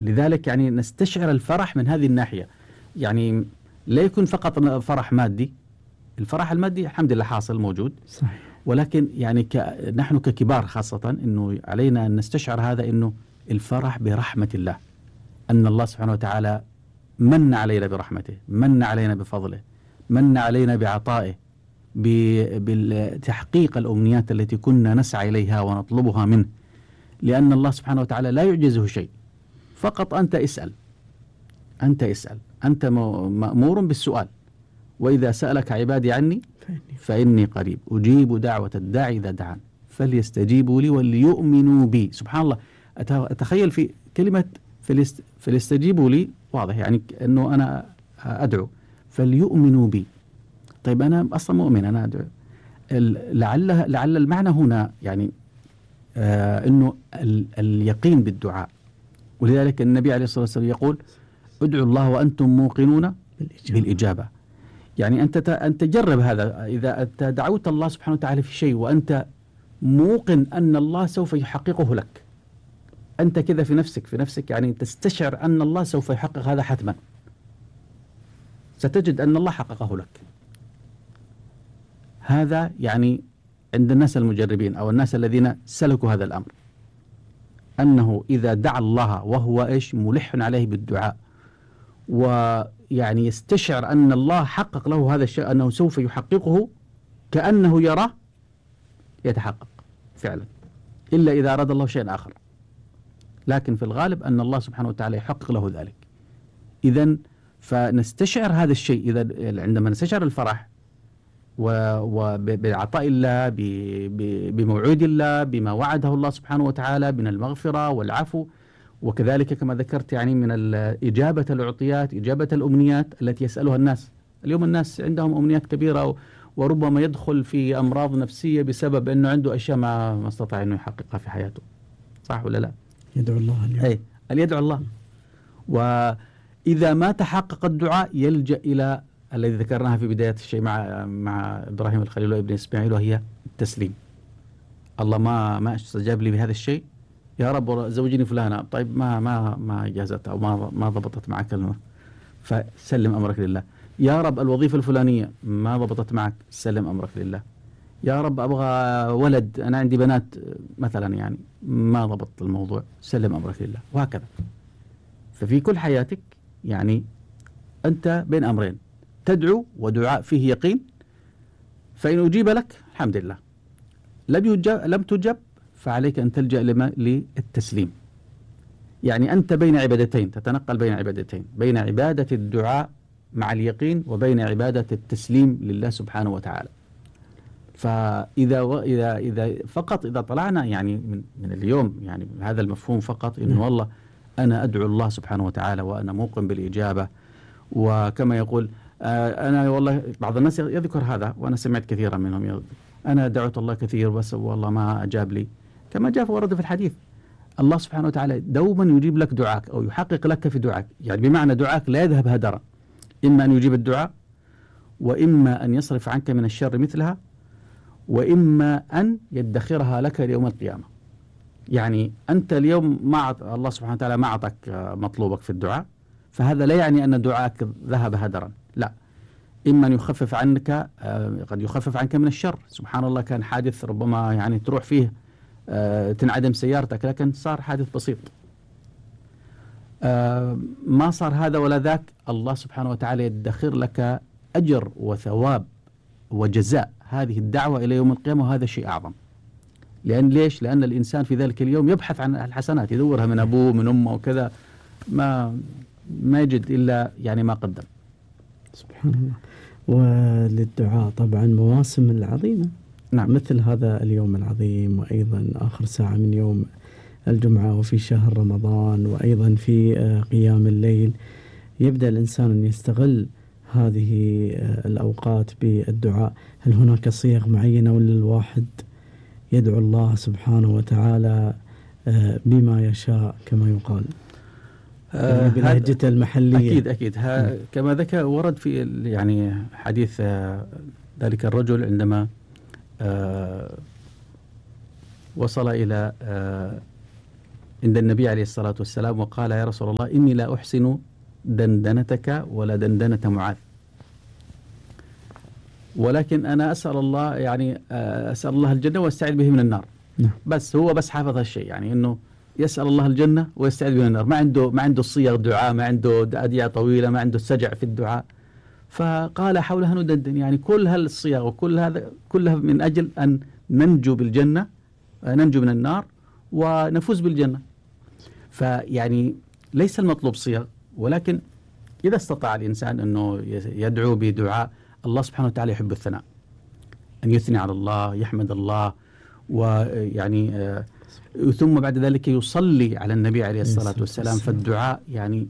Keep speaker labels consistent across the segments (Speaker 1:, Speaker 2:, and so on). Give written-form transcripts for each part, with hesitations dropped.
Speaker 1: لذلك يعني نستشعر الفرح من هذه الناحية. يعني لا يكون فقط فرح مادي، الفرح المادي الحمد لله حاصل موجود
Speaker 2: صحيح.
Speaker 1: ولكن يعني نحن ككبار خاصة أنه علينا أن نستشعر هذا، أنه الفرح برحمة الله، أن الله سبحانه وتعالى من علينا برحمته، من علينا بفضله، من علينا بعطائه، بتحقيق الأمنيات التي كنا نسعى إليها ونطلبها منه، لأن الله سبحانه وتعالى لا يعجزه شيء. فقط أنت اسأل، أنت مأمور بالسؤال. وإذا سألك عبادي عني فإني قريب أجيب دعوة الداعي إذا دعان فليستجيبوا لي وليؤمنوا بي. سبحان الله، أتخيل في كلمة فليستجيبوا لي واضح يعني أنه أنا أدعو، فليؤمنوا بي. طيب أنا أصلا مؤمن، أنا أدعو. لعل المعنى هنا يعني أنه اليقين بالدعاء. ولذلك النبي عليه الصلاة والسلام يقول ادعوا الله وأنتم موقنون بالإجابة. يعني أنت جرب هذا، إذا أنت دعوت الله سبحانه وتعالى في شيء وأنت موقن أن الله سوف يحققه لك، أنت كذا في نفسك يعني تستشعر أن الله سوف يحقق هذا حتما، ستجد أن الله حققه لك. هذا يعني عند الناس المجربين أو الناس الذين سلكوا هذا الأمر، أنه إذا دعا الله وهو ملح عليه بالدعاء ويعني يستشعر أن الله حقق له هذا الشيء، أنه سوف يحققه كأنه يراه، يتحقق فعلا، إلا إذا أراد الله شيئا آخر. لكن في الغالب أن الله سبحانه وتعالى يحقق له ذلك. إذن فنستشعر هذا الشيء إذا عندما نستشعر الفرح وبعطاء الله، بموعود الله، بما وعده الله سبحانه وتعالى من المغفرة والعفو، وكذلك كما ذكرت يعني من إجابة العطيات، إجابة الأمنيات التي يسألها الناس. اليوم الناس عندهم أمنيات كبيرة وربما يدخل في أمراض نفسية بسبب أنه عنده أشياء ما استطاع أنه يحققها في حياته. صح ولا لا؟
Speaker 2: يدعو الله اليوم.
Speaker 1: يدعو الله. وإذا ما تحقق الدعاء يلجأ إلى الذي ذكرناها في بداية الشيء مع إبراهيم الخليل وابن إسماعيل، وهي التسليم. الله ما استجاب لي بهذا الشيء، يا رب زوجيني فلانة، طيب ما جازت أو ما ضبطت معك كلمة، فسلم أمرك لله. يا رب الوظيفة الفلانية ما ضبطت معك، سلم أمرك لله. يا رب أبغى ولد، أنا عندي بنات مثلا يعني ما ضبط الموضوع، سلم أمرك لله، وهكذا. ففي كل حياتك يعني أنت بين أمرين، تدعو ودعاء فيه يقين، فإن أجيب لك الحمد لله، لم تجب فعليك أن تلجأ للتسليم. يعني أنت بين عبادتين، تتنقل بين عبادتين، بين عبادة الدعاء مع اليقين وبين عبادة التسليم لله سبحانه وتعالى. فإذا فقط إذا طلعنا يعني من اليوم يعني هذا المفهوم فقط، إنه والله أنا أدعو الله سبحانه وتعالى وأنا موقن بالإجابة. وكما يقول أنا والله بعض الناس يذكر هذا، وأنا سمعت كثيرا منهم، أنا دعوت الله كثير بس والله ما أجاب لي. كما جاء ورد في الحديث، الله سبحانه وتعالى دوما يجيب لك دعاك أو يحقق لك في دعاك، يعني بمعنى دعاك لا يذهب هدرا، إما أن يجيب الدعاء، وإما أن يصرف عنك من الشر مثلها، وإما أن يدخرها لك ليوم القيامة. يعني أنت اليوم الله سبحانه وتعالى ما أعطاك مطلوبك في الدعاء، فهذا لا يعني أن دعاك ذهب هدرا، لا، إما أن يخفف عنك، قد يخفف عنك من الشر. سبحان الله، كان حادث ربما يعني تروح فيه تنعدم سيارتك، لكن صار حادث بسيط، ما صار هذا ولا ذاك، الله سبحانه وتعالى يدخر لك أجر وثواب وجزاء هذه الدعوة إلى يوم القيامة، وهذا شيء أعظم. ليش؟ لأن الإنسان في ذلك اليوم يبحث عن الحسنات، يدورها من أبوه من أمه وكذا، ما يجد إلا يعني ما قدم.
Speaker 2: سبحان الله. وللدعاء طبعا مواسم العظيمة،
Speaker 1: نعم،
Speaker 2: مثل هذا اليوم العظيم، وأيضا آخر ساعة من يوم الجمعة، وفي شهر رمضان، وأيضا في قيام الليل، يبدأ الإنسان أن يستغل هذه الأوقات بالدعاء. هل هناك صيغ معينة، ولا الواحد يدعو الله سبحانه وتعالى بما يشاء كما يقال بلهجته المحلية؟
Speaker 1: أكيد كما ذكر ورد في يعني حديث ذلك الرجل عندما وصل إلى عند النبي عليه الصلاة والسلام وقال: يا رسول الله، إني لا أحسن دندنتك ولا دندنة معاذ، ولكن أنا أسأل الله، يعني أسأل الله الجنة واستعيذ به من النار. بس هو بس حافظ هالشيء، يعني إنه يسأل الله الجنة ويستعيذ به من النار. ما عنده صيغ دعاء، ما عنده أدعية طويلة، ما عنده سجع في الدعاء. فقال: حولها ندندن، يعني كل هالصيغ وكل هذا كلها من أجل أن ننجو بالجنة، ننجو من النار ونفوز بالجنة. فيعني ليس المطلوب صيغ، ولكن إذا استطاع الإنسان أنه يدعو بدعاء، الله سبحانه وتعالى يحب الثناء، أن يثني على الله، يحمد الله، ويعني ثم بعد ذلك يصلي على النبي عليه الصلاة والسلام. فالدعاء يعني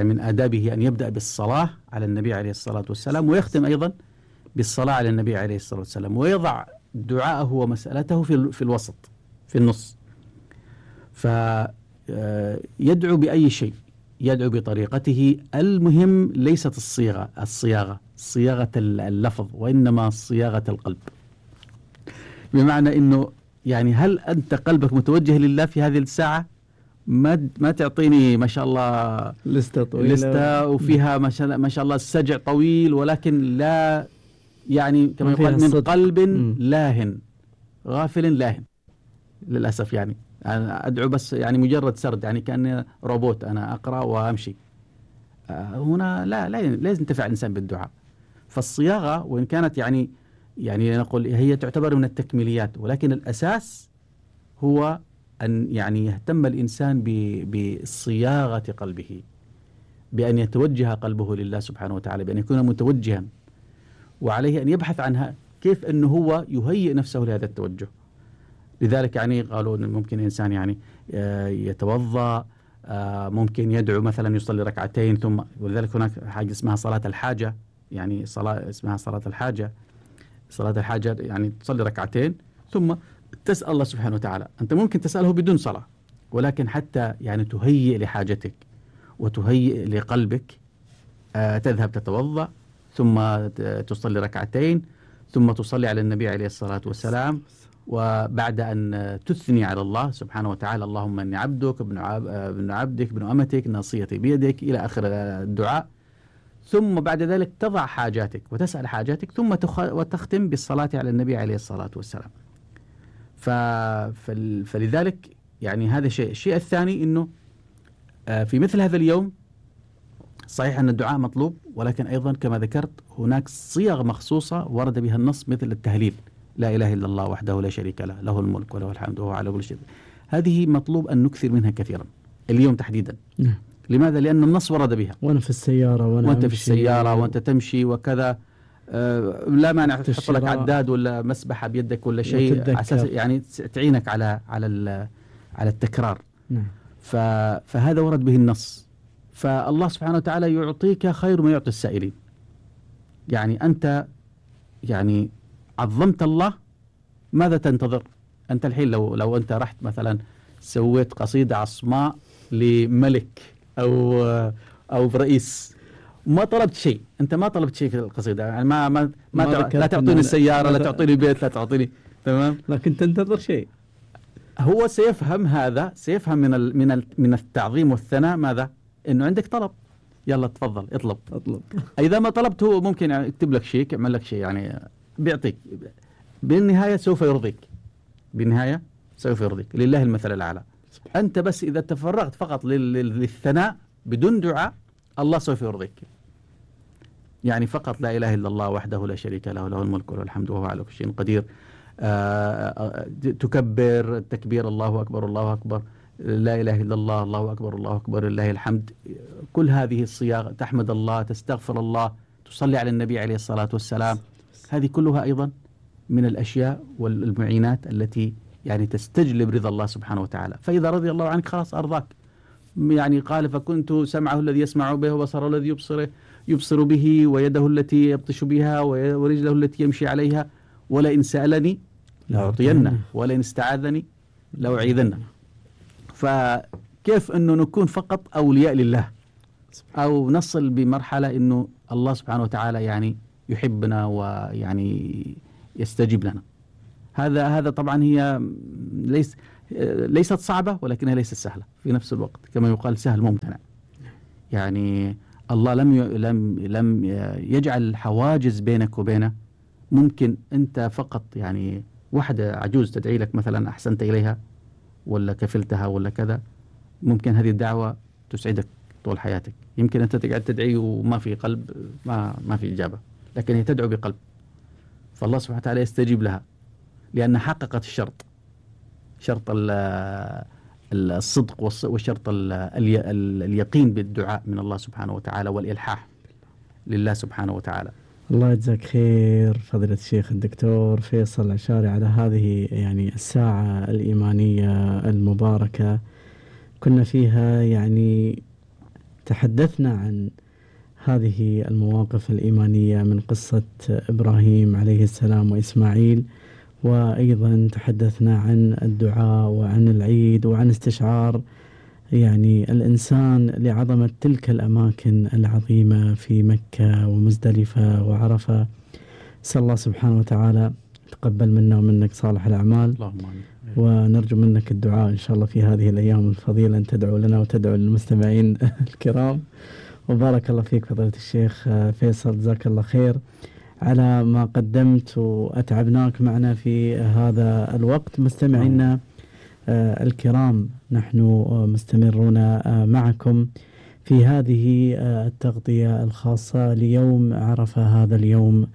Speaker 1: من آدابه أن يبدأ بالصلاة على النبي عليه الصلاة والسلام، ويختم أيضا بالصلاة على النبي عليه الصلاة والسلام، ويضع دعاءه ومسألته في الوسط، في النص. فيدعو بأي شيء، يدعو بطريقته. المهم ليست صياغة اللفظ، وإنما صياغة القلب. بمعنى إنه يعني هل أنت قلبك متوجه لله في هذه الساعة؟ ما تعطيني ما شاء الله
Speaker 2: لستة طويلة،
Speaker 1: لستة وفيها ما شاء الله السجع طويل، ولكن لا، يعني كما يقال من قلب لاهن غافل لاهن. للأسف يعني أنا أدعو بس يعني مجرد سرد، يعني كأني روبوت، أنا أقرأ وأمشي. هنا لا لازم ينتفع الإنسان بالدعاء. فالصياغة وإن كانت يعني نقول هي تعتبر من التكميليات، ولكن الأساس هو أن يعني يهتم الإنسان بصياغة قلبه، بأن يتوجه قلبه لله سبحانه وتعالى، بأن يكون متوجها، وعليه أن يبحث عنها كيف أنه هو يهيئ نفسه لهذا التوجه. لذلك يعني قالوا أن ممكن الإنسان يعني يتوضأ، ممكن يدعو مثلا يصلي ركعتين، ثم ولذلك هناك حاجة اسمها صلاة الحاجة، يعني صلاة اسمها صلاة الحاجة. صلاة الحاجة يعني تصلي ركعتين ثم تسأل الله سبحانه وتعالى. أنت ممكن تسأله بدون صلاة، ولكن حتى يعني تهيئ لحاجتك وتهيئ لقلبك، تذهب تتوضأ ثم تصلي ركعتين ثم تصلي على النبي عليه الصلاة والسلام، وبعد أن تثني على الله سبحانه وتعالى: اللهم إني عبدك ابن عبدك ابن أمتك ناصيتي بيدك، إلى آخر الدعاء. ثم بعد ذلك تضع حاجاتك وتسأل حاجاتك، ثم وتختم بالصلاة على النبي عليه الصلاة والسلام. فلذلك يعني هذا شيء. الشيء الثاني أنه في مثل هذا اليوم صحيح أن الدعاء مطلوب، ولكن أيضا كما ذكرت هناك صيغ مخصوصة ورد بها النص، مثل التهليل: لا إله إلا الله وحده لا شريك له، له الملك وله الحمد وهو على كل شيء. هذه مطلوب أن نكثر منها كثيرا اليوم تحديدا. لماذا؟ لأن النص ورد بها.
Speaker 2: وأنا في السيارة
Speaker 1: وأنت في السيارة وأنت تمشي وكذا، لا مانع تحط لك عداد ولا مسبحة بيدك ولا شيء، أساس يعني تعينك على التكرار. فهذا ورد به النص. فالله سبحانه وتعالى يعطيك خير ما يعطي السائلين. يعني أنت يعني عظمت الله، ماذا تنتظر؟ أنت الحين لو أنت رحت مثلا سويت قصيدة عصماء لملك أو رئيس، ما طلبت شيء، أنت ما طلبت شيء في القصيدة، يعني لا تعطيني السيارة، لا تعطيني بيت، لا تعطيني، تمام،
Speaker 2: لكن تنتظر شيء.
Speaker 1: هو سيفهم هذا، سيفهم من التعظيم والثناء ماذا؟ إنه عندك طلب، يلا تفضل اطلب. إذا ما طلبت هو ممكن يكتب لك شيء، يعمل لك شيء، يعني بيعطيك. بالنهاية سوف يرضيك، بالنهاية سوف يرضيك. لله المثل الأعلى. أنت بس إذا تفرغت فقط للثناء بدون دعاء، الله سوف يرضيك. يعني فقط لا إله إلا الله وحده لا شريك له، له الملك وله الحمد وهو على كل شيء قدير. تكبر التكبير: الله أكبر الله أكبر، لا إله إلا الله، الله أكبر الله أكبر، لله الحمد. كل هذه الصياغ، تحمد الله، تستغفر الله، تصلي على النبي عليه الصلاة والسلام. هذه كلها أيضا من الأشياء والمعينات التي يعني تستجلب رضا الله سبحانه وتعالى. فإذا رضي الله عنك خلاص أرضاك. يعني قال: فكنت سمعه الذي يسمع به، وبصره الذي يبصر به، ويده التي يبطش بها، ورجله التي يمشي عليها، ولئن سألني لأعطينه، ولئن استعاذني لأعيذنه. فكيف أنه نكون فقط أولياء لله، أو نصل بمرحلة أنه الله سبحانه وتعالى يعني يحبنا ويعني يستجيب لنا. هذا طبعا هي ليست صعبة ولكنها ليست سهلة في نفس الوقت، كما يقال سهل ممتنع. يعني الله لم يجعل حواجز بينك وبينه. ممكن أنت فقط يعني واحدة عجوز تدعي لك مثلا أحسنت إليها ولا كفلتها ولا كذا، ممكن هذه الدعوة تسعدك طول حياتك. يمكن أنت تقعد تدعي وما في قلب، ما في إجابة، لكن هي تدعو بقلب، فالله سبحانه وتعالى يستجيب لها لأن حققت الشرط، شرط الصدق والشرط اليقين بالدعاء من الله سبحانه وتعالى والإلحاح لله سبحانه وتعالى.
Speaker 2: الله يجزاك خير فضيلة الشيخ الدكتور فيصل العشاري على هذه يعني الساعة الإيمانية المباركة. كنا فيها يعني تحدثنا عن هذه المواقف الإيمانية من قصة إبراهيم عليه السلام وإسماعيل، وأيضا تحدثنا عن الدعاء وعن العيد وعن استشعار يعني الإنسان لعظمة تلك الأماكن العظيمة في مكة ومزدلفة وعرفة. أسأل الله سبحانه وتعالى تقبل منا ومنك صالح الأعمال،
Speaker 1: اللهم آمين.
Speaker 2: ونرجو منك الدعاء إن شاء الله في هذه الأيام الفضيلة، أن تدعو لنا وتدعو للمستمعين الكرام. وبارك الله فيك فضيلة الشيخ فيصل، جزاك الله خير على ما قدمت وأتعبناك معنا في هذا الوقت. مستمعينا الكرام، نحن مستمرون معكم في هذه التغطية الخاصة ليوم عرفة، هذا اليوم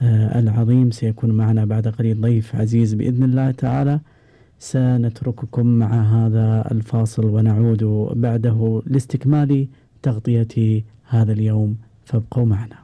Speaker 2: العظيم. سيكون معنا بعد قليل ضيف عزيز بإذن الله تعالى. سنترككم مع هذا الفاصل ونعود بعده لاستكمال تغطية هذا اليوم، فابقوا معنا.